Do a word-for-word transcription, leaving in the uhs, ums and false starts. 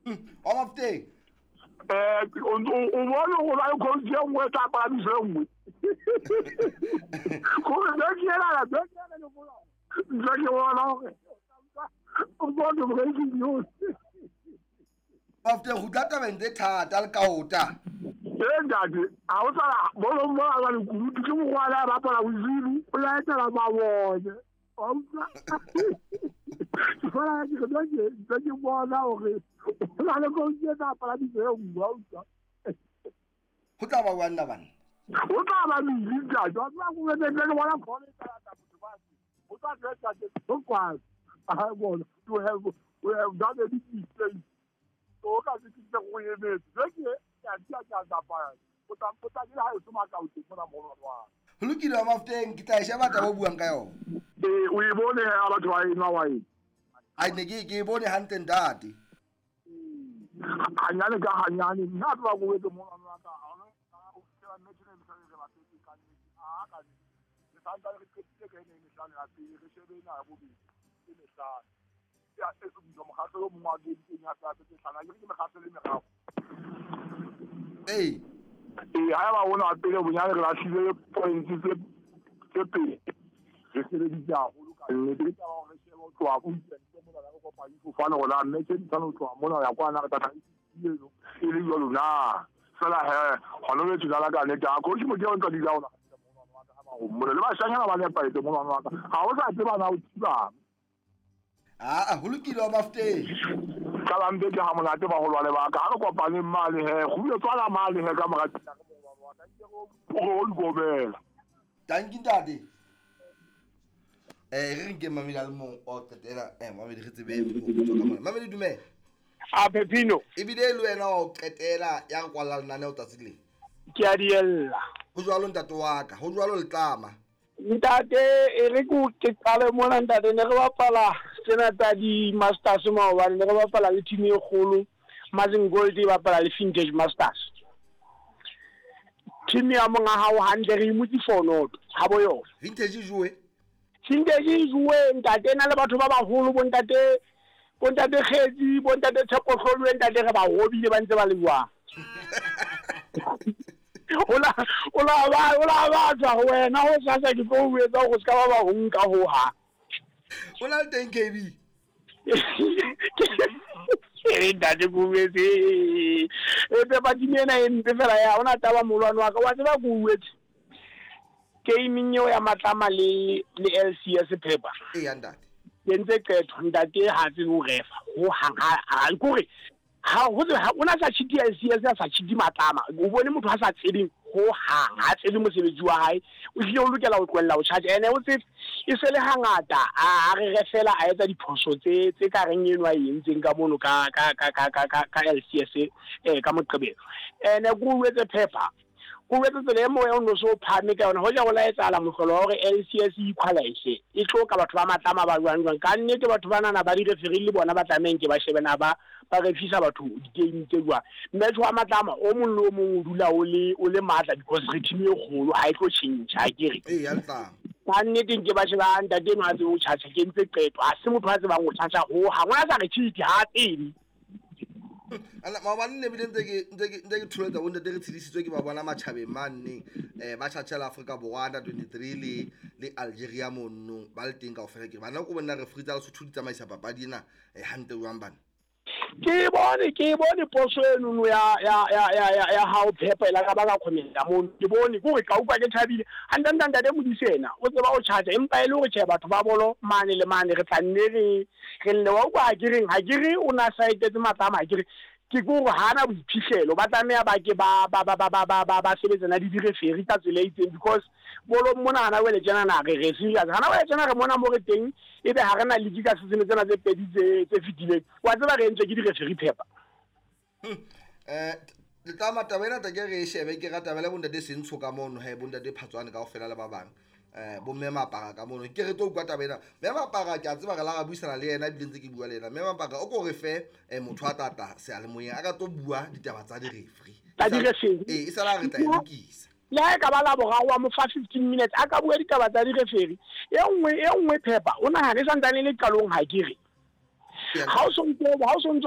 Wa Mafoteng. Eh, o bone go ba le coach e nngwe e tla palamisa e nngwe. Gore be ke ela be ke ela le bona. Ntse ke bona hore o bone breaking news. Mafoteng go tla tabeng tse thata le kaota. Ee ntate, ha o tsala bolo mo a ba le kurutu ke mogwana a bapala bozulu, o laetela mabone. Wa utlwa? Ke fela ke re ke ntse ke bona hore o na le coach e tla palamisa e nngwe, wa utlwa? Go tla ba wa nna bana. O tla ba busy ntate, wa tseba ko ntse ke bona call e tla lata motho ba se. O tla tla tla go kwala. A bona, you have we have done a big mistake. So ka se ke go emetse. Ke ke ya dia ke a tsamaya. O tla o tla dira ha o tsoma ka o teng mona mo wa. Ho lokile wa Mafoteng, ke tla e sheba taba o buang ka yona. Ee, o e bone ha batho ba enwa wine. Ai ne ke ke e bone hantle ntate. Hanyane ka hanyane, nna tloha ko etse mona wa ka. Ha ona o fihlela match ena e mehlano e re bapetse ka nnete. A ka nnete. Re santsane re qetile ka ena e mehlano ya pele, re shebe ena ya bobedi e mehlano. Ya e se mokgahlelo o mongwe wa game teng ya tsa tse hlano. Akere ke mekgahlelo e meraro. Ee. Ee, ha eba ona wa pele bonyane re lahlile points tse tse pedi. Re sebeditse haholo ka nnete. Ke taba hore re shebe ho tloha weekend mona re kopane difofane hore na match e di tshwana ho tloha mona ho ya kwana re tla eno e le jwalo na. Fela he hona jwale tjena ka nnete ha coach Motia o ntsa dula hona mona le bashanyana ba nepahetse mona wa ka. Ha o sa tseba na o thibang. Ah, ho lokile wa Mafoteng. Ka la mpe ke ha monate baholwane ba ka. Ha re kopane mane he, go tswala mane he ka mora tsena re mongwane wa ka. Ke go o dikobela. Dankie ntate. Eh, re nke mamedi a le mong o qetela, eh mamedi re tsebe ho tswa ka mona. Mamedi dumela. A Pepino. Ebile le wena wa o qetela ya re kwalla lenaneo tsatsi le. Ke a diella. Ho jwalo ntate wa ka, ho jwalo letlama. Ntate e re ko ke qale mona ntate ne re bapala tsena tsa di Masters maobane, ne re bapala le team e kgolo Mazin Gold e bapala le Vintage Masters. Team ya monga hao hantle re imotse four not ha bo yona. Vintage joe. Vintage joe ntate na le batho ba baholo bo ntate bo ntate Kgetsi bo ntate Tshepo ntate re ba hobile ba ntse ba le jwang. Ola ola ba ola ba tswa ho wena ho sasa ke tlo o etsa go ska ba ba ho nka ho ha. O la teng K B. Ke ntate go wetse. E pe ba dimena e mpe fela ya ona taba molwane wa ka wa tseba go wetse. Gaming eo ya Matlama le le L C S paper. E ya ntate. Ke ntse qetho ntate ha tsebe ho refa ho hang ha kore ha ho ha ona sa cheat L C S ya sa cheat Matlama o bone motho ha sa tsebeng ho hang ha tsebe mosebetsi wa hae o hlile o lokela ho tlohella ho charge ene o tsebe e se le hangata a re refela a etsa diphoso tse tse ka reng eno a entseng ka mono ka ka ka ka ka ka L C S eh ka Moqebelo ene go wetse paper go wetse tsela e moya o no so phame ka yona ho ja go laetsala mohlolo wa hore L C S e equalize e tlo ka batho ba Matlama ba jwang jwang ka nnete batho ba nana ba di referee le bona ba tlameng ke ba shebena ba ba refisa batho di-game tse jwang match wa Matlama o mong le o mong o dula o le o le matla because re team e kgolo ha e tlo change ha ke re ee ya ntla ka nnete ke ba sheba ntate eno a tsebe ho charge ke ntse qeto ha se motho a tsebang ho charge ho ha ngwana sa re cheat ha tsebe. Ana maobane ne bile ntse ke ntse ke ntse ke thuletsa bo ntate re tshedisitswe ke ba bona matjhabeng mane eh ba tjhatjhela Afrika Borwa under twenty-three le le Algeria mono ba le teng kaofela ke bana ko bona re free tsa Lesotho di tsamaisa papadi ena eh hantle jwang bana. Ke bone ke bone poso eno no ya ya ya ya ya ha o phepa ela ka ba ka comment mono ke bone ke hore ka utlwa ke thabile hantle ntate Modise ena o tseba o charge empa e le hore tjhe batho ba bolo mane le mane re tla nne re re lle wa utlwa ha ke reng ha ke re o na saetetse Matlama ha ke re ke gore ha na boiphihlelo ba tlameha ba ke ba ba ba ba ba ba ba ba sebetsana le di-referee ka tsela e itseng because bolo mona hana wele tjena na re re serious hana wele tjena re mona mo re teng ebe ha re na league ka season tsena tse pedi tse tse fetileng wa tseba re entswe ke di-referee phepa. Eh Letlama taba ena ke re e shebe ke rata bele bontate Sentsho ka mono he bontate Phatswane kaofela le ba bang eh bo mme Mapara ka mono ke re tlo utlwa taba ena mme Mapara ke a tseba re la ra buisana le yena ebile ntse ke bua le yena mme Mapara o ko re fe motho a tata seyalemoyeng a ka tlo bua ditaba tsa di-referee tsa di-referee ee e sala re tla e lokisa le ha e ka ba la boraro wa mo fa fifteen minutes a ka bua ditaba tsa di-referee e nngwe e nngwe phepa o nahane e santsane e le qalong ha ke re ha o sontso ha o sontso